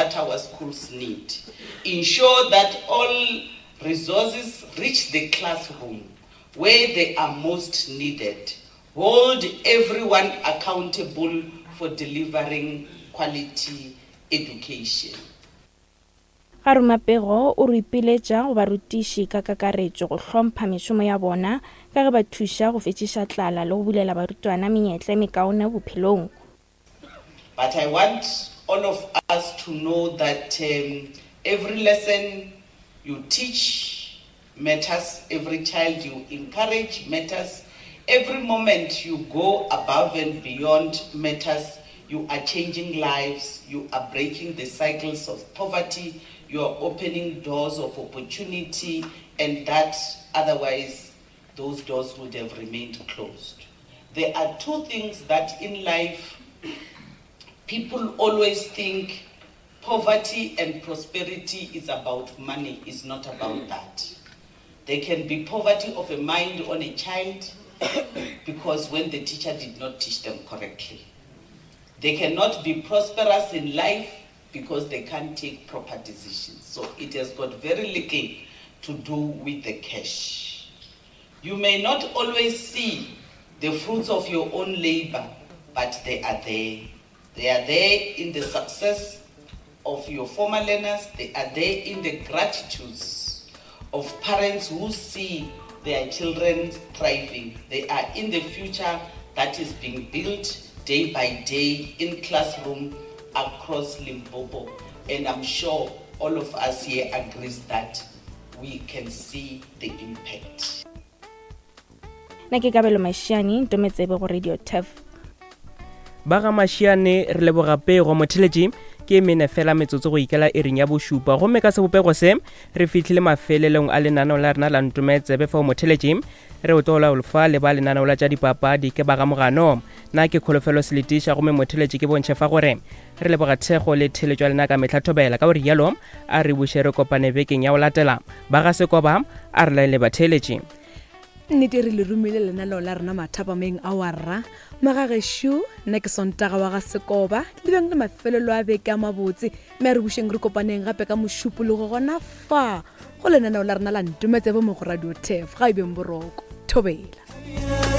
that our schools need. Ensure that all resources reach the classroom where they are most needed. Hold everyone accountable for delivering quality education. Garumapego o re ipiletša go barutiši ka kakaretšo go hlompha mešomo ya bona ka ge ba thuša go fetšiša tlala le go bulela barutwana menyetla e mekaone bophelong. But I want all of us to know that um, every lesson you teach matters, every child you encourage matters, every moment you go above and beyond matters. You are changing lives, you are breaking the cycles of poverty, you are opening doors of opportunity, and that otherwise those doors would have remained closed. There are two things that in life people always think poverty and prosperity is about money. It's not about that. There can be poverty of a mind on a child because when the teacher did not teach them correctly. They cannot be prosperous in life because they can't take proper decisions. So it has got very little to do with the cash. You may not always see the fruits of your own labor, but they are there. They are there in the success of your former learners, they are there in the gratitudes of parents who see their children thriving. They are in the future that is being built day by day in classroom across Limpopo. And I'm sure all of us here agrees that we can see the impact. Na ke Kabelo Mashiane, Ntometsebe go Radio Turf. Ba ga Mashiane re leboga pego motheletši ke mene fela metsotso go ikela iring ya bošupa gomme ka sebopego se re fihlile mafelelong a lenaneo la rena la ntometsebe fao motheletši re o tlola fa le ba lenaneo la tša dipapadi ke ba ga mogano na ke kholofelo seletiša gomme motheletši ke bontšhe fa gore re leboga thekgo le theletšo ya lena ka mehla thobela ka gore yalo a re buše re kopane bekeng ya go latela ba ga sekoba a re laele batheeletši Nnete re le romile lenaneo la rena mathapameng a warra. Magagešo, nna ke Sontaga wa ga Sekoba, le beng le mafelelo a beke a mabotse, mme a re bušeng re kopaneng gape ka Mošupologo gona fa go lenaneo la rena la Ntometsebe mo go Radio Turf. Ga e beng boroko. Thobela.